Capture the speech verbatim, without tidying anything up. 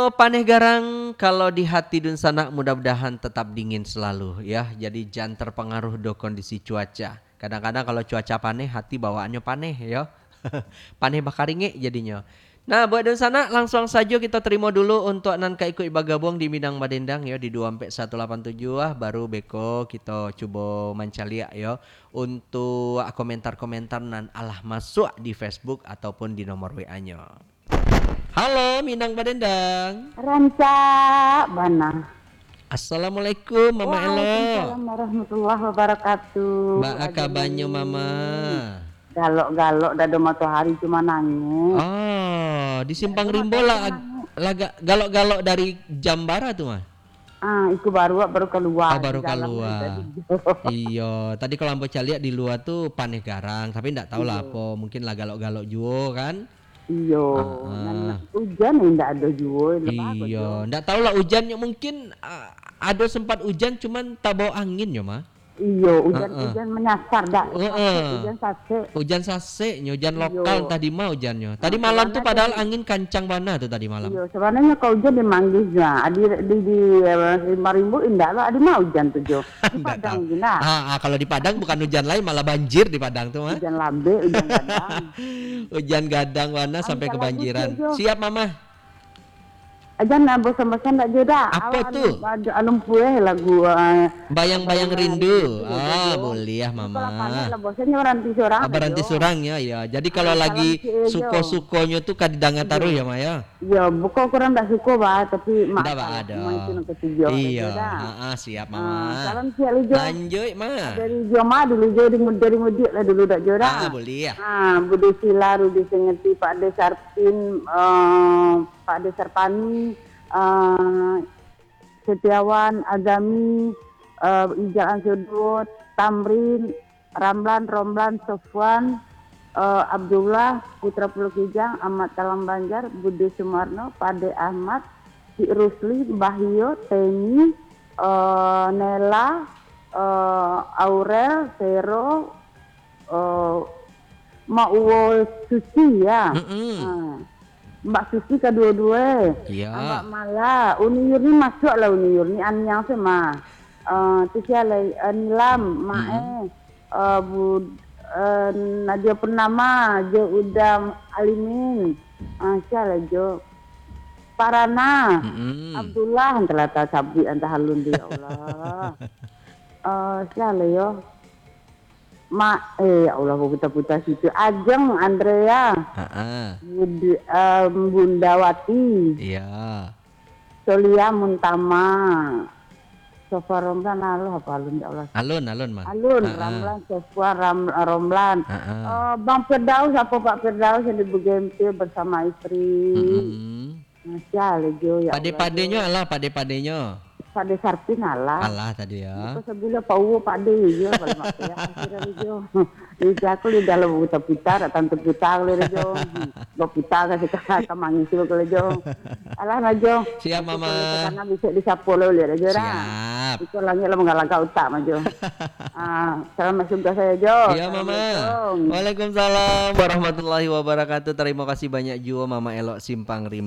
Paneh garang, kalau di hati dunsanak, mudah-mudahan tetap dingin selalu, ya. Jadi, jan terpengaruh do kondisi cuaca. Kadang-kadang kalau cuaca paneh, hati bawaannyo paneh, yo. Paneh bakaringek jadinyo. Nah, buat dunsanak, langsuang sajo kito terimo dulu untuak nan ka ikuik bagabuang di Minang Badendang, yo, di dua ampek satu lapan tujuh, ah, baru beko kito cubo mancaliak, yo, untuak komentar-komentar nan alah masuak di Facebook ataupun di nomor W A-nyo. Halo, Minang Badendang. Rancak bana. Assalamualaikum, Mama Elok. Waalaikumsalam warahmatullahi wabarakatuh. Baa kabanyo, Mama? Galok-galok dado matohari cuma nangih. Oh, di Simpang Rimbo lah, lah ga-, galok-galok dari jam bara tu, Mah? Ah, iko baru, baru kalua. Oh, baru kalua. Iyo, tadi kalau ambo caliak di lua tu paneh garang, tapi ndak tahu lah apo, mungkin lah galok-galok juo kan? Iyo, nan ujan indak ado juo, lemah ko. Iyo, ndak tahu lah ujannyo mungkin, ah, ado sempat ujan cuman tabao angin yo, Mah. Iyo, ujan, ujan manyasar dak. Heeh. Ujan sasek. Ujan saseknyo, ujan lokal tadi mah ujannyo. Tadi malam tu padahal angin kancang bana tu tadi malam. Iyo, sabananyo kalau ujan di Manggis nah, di, di, di, eh, Simpang Rimbo indak lah, adi mah ujan tu jo. Di Padang je nah. Ah, ah, kalau di Padang bukan ujan lain, malah banjir di Padang tu mah. Ujan lambek, ujan gadang. Ujan gadang bana sampai kebanjiran. Siap, Mama. Ajan, ah, bosan-bosan dak jo dak. Apo tu? Anu, anu, anu, pueh lagu, ah, Bayang-Bayang Rindu. Ah, buliah, Mama. Kalau panek lah bosan nyo baranti surang. Ah, baranti surang, yo, yo. Jadi kalau lagi suko-sukonyo tu ka didanga taruih yo, Ma, yo? Iyo, bukan kurang dak suko, bah, tapi maaf lah. Ndak baa doh. Iyo, ha, siap, Mama. Ah, salam siap, Lijo. Lanjuik, Ma. Dari Joma dulu, Jo, di, dari mudik lah dulu dak jo dah. Ah, buliah. Ah, Bude Sila, Rudi Sengeti, Pak De Sarpin, eh, Pak De Sarpani, eh, Setiawan, Azami, eh, Ijaan Sudut, Tamrin, Ramlan, Romlan, Sofwan, eh, Abdullah, Putra Pulau Kijang, Ahmad Talang Banjar, Bude Sumarno, Pade Ahmad, Cik Rusli, Bahio, Teni, eh, Nela, eh, Aurel, Vero, eh, Mak Uwo Suci, ya. Mm-mm. Ha. Mbak Suci kaduo-duo. Iya. Mbak Mala, Uni Yurni masuak lah Uni Yurni, Aniang tu mah. Eh, tu sia lai, eh, Nilam, Mak, mm-mm, eh, eh, Bu, eh, Nadia Purnama, Jo Uda Alimin. Ah, sia lai Jo. Parana, mm-mm, Abdullah, antah lah tasabuik, antah alun tu, ya Allah. Eh, sia lai yo. Mak, eh, ya Allah, baputa-puta situ. Ajeng, Andrea. Ha-a. Bud-, em, Bunda Wati. Iya. Solia Muntama. Sofwan Romlan, alah, apa alun, ya Allah. Alun, alun, Ma. Alun, ha-a, Ramlan, Sofwan, Ram-, Romlan. Ha-a. Eh, Bang Firdaus, apa Pak Firdaus yang di Bugempil bersama istri. Mm-mm. Masya Allah, Jo, ya Allah, Jo. Pade-padenyo alah, pade-padenyo. Pade Sarpin alah. Alah tadi, ya. Bukan sebulan Pak Uwo pade, Jo, kalau mak payah, akhirnya, Jo. Jadi aku di dalam putar-putar, tak tantu putar, kalau, Jo. Baputar ka sika, ka mangisi, kalau, Jo. Alah, nah, Jo. Siap, Mama. Kalau sana bisa disapo, lo, lihat aja, dah. Siap. Itu langit lah menggalakkan utak, mah, Jo. Ah, selamat tugas saya, Jo. Iya, Mama. Assalamualaikum. Waalaikumsalam warahmatullahi wabarakatuh. Terima kasih banyak juo, Mama Elok Simpang Rimbo.